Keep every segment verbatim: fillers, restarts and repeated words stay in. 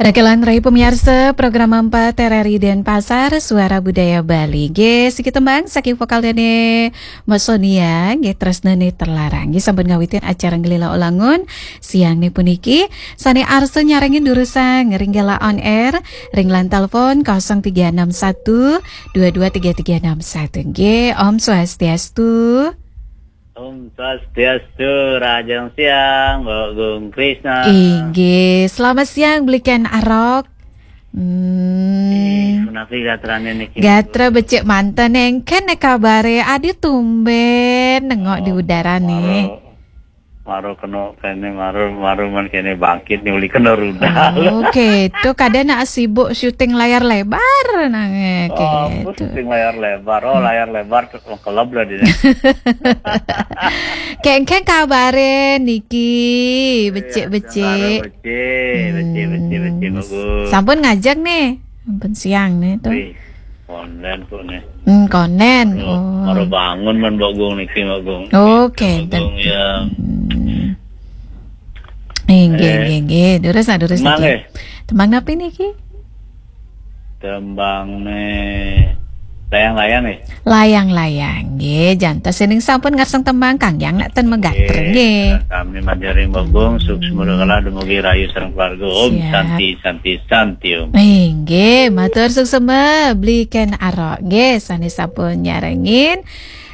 Rakelan rai pemiarsa program empat R R I Denpasar, Suara Budaya Bali. Nggih, siki tembang saking vokal dene Mbok Sonia, nggih, Tresnane Terlarang. Nggih, sampun ngawitin acara Ngelila Ulangun siang ne puniki. Sane arsa nyarengin durusang ring gala on air, ring line telepon kosong tiga enam satu dua dua tiga tiga enam satu. Nggih, Om Swastiastu. Om Swastiastu, rahajeng siang, Mbok Gung Krisna. Inggih, selamat siang, Bliken Arok. Hmm. Eh, punapi gatrane niki? Gatra becik manten, engken ne kabare, adi tumben nengok di udara ne. Maro, maro kena kene, maro, maro men kene bangkit ni uli kena rudal. Oke, itu kadang nak sibuk syuting layar lebar nang, eh, Oh, gitu. Syuting layar lebar. Oh, layar lebar tu kelab lah dia. Kengkeng kabare niki, becik-becik. Iya, becik, becik, becik, Mbok Gung. Sampun ngajeng nih. Sampun siang nih tuh. Wih, konden kok nih. Hmm, konden. Baru, oh, baru bangun men Mbok Gung niki, Mbok Gung. Oke, Mbok Gung, ya. Hmm. Inggih, eh, inggih, inggih. Durus, nah, durus. Tembang niki. Eh. Tembang napi niki? Tembang ne layang-layang, eh? Layang-layang, nggih. Jantos ning sampun ngarsang tembang kang yang nak ten megater, eh, nggih. Sami manjari Mbok Gung, hmm, sukses murakalah dumugi rahayu sareng keluarga. Om, siap. Santi, santi, santi, Om. Inggih, matur suksema, Bliken Arok, nggih, sane sampun nyarengin.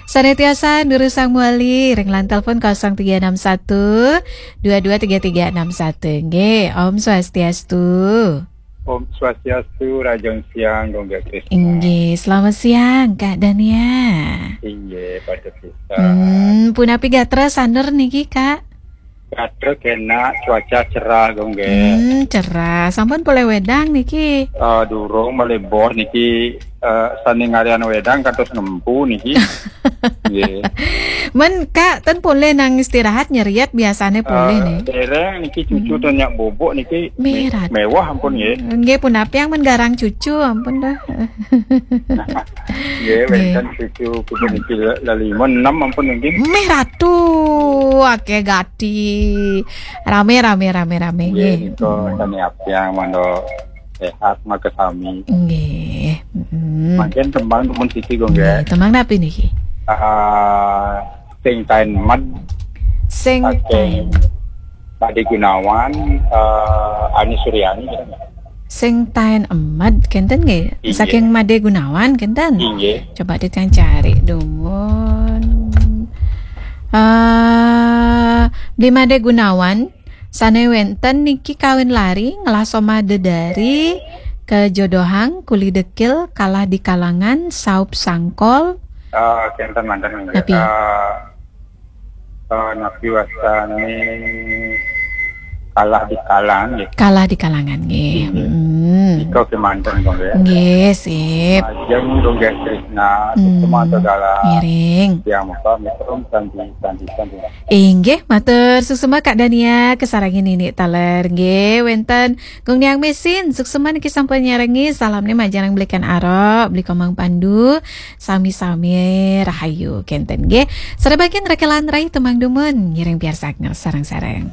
Sane tiasa durusang mawali ring line telepon kosong tiga enam satu dua dua tiga tiga enam satu. Nggih, Om Swastiastu. Om Swastiastu, rahajeng siang, Gung Krisna. Inggih, selamat siang, Kak Dania. Inggih, pada siang. Hmm, punapi gatra sanur niki, Kak? Gatra kenak, cuaca cerah, Gung, nggih. Hmm, cerah. Sampun polih wedang niki? Eh, durung, malih boh niki, eh, sane ngarian wedang kantos ngempu niki. Nggih. Men, Kak, ten polih nang istirahat nyeriet biasane polih, eh, nih. Dereng niki cucu, hmm, ten nyak bubuk niki me-, mewah ampun, nggih. Nggih, punapi yang men garang cucu ampun dah. Nggih, nggih. Wenten cucu, cucu niki la-, lalima, enam ampun niki. Meh ratu, akeh gati. Rame, rame, rame, rame, nggih, nggih. Nika sane apiang mangda sehat makasami. Nggih. Mm-mm. Mangkin tembang dumun siti, Gung, nggih, nggih. Tembang napi niki? Ah, Sing Taen Med. Sing Taen. Saking Made Gunawan, eh, Ani Suryani. Sing Taen Med, kenten nggih? Inggih. Saking Made Gunawan, kenten? Inggih. Coba titiang cari dumun. Eh, Bli Made Gunawan, sane wenten niki kawin lari, ngelah soma dedari, kejodohan, kuli dekil, kalah di kalangan, saup sangkol. Eh, kenten manten nggih. Napi? Eh, Eh, napi wastane kalah di kalangan, nggih. Kalah di kalangan, nggih. Inggih. Hmm. Nika kemanten, Gung, nggih. Nggih, sip. Majeng, Gung, nggih, Krisna, hmm, semua segala. Ngiring. Yang muka, mitrum, santi, santi, santi. Inggih, matur suksema Kak Dania, kasarengin niki taler, nggih, wenten Gung Niang Mesin, suksema niki sampun nyarengin, salamne majeng Bliken Arok, Bli Komang Pandu, sami-sami rahayu kenten nggih. Sare bagian rakelan rai tembang dumun ngiring piarsang sareng-sareng.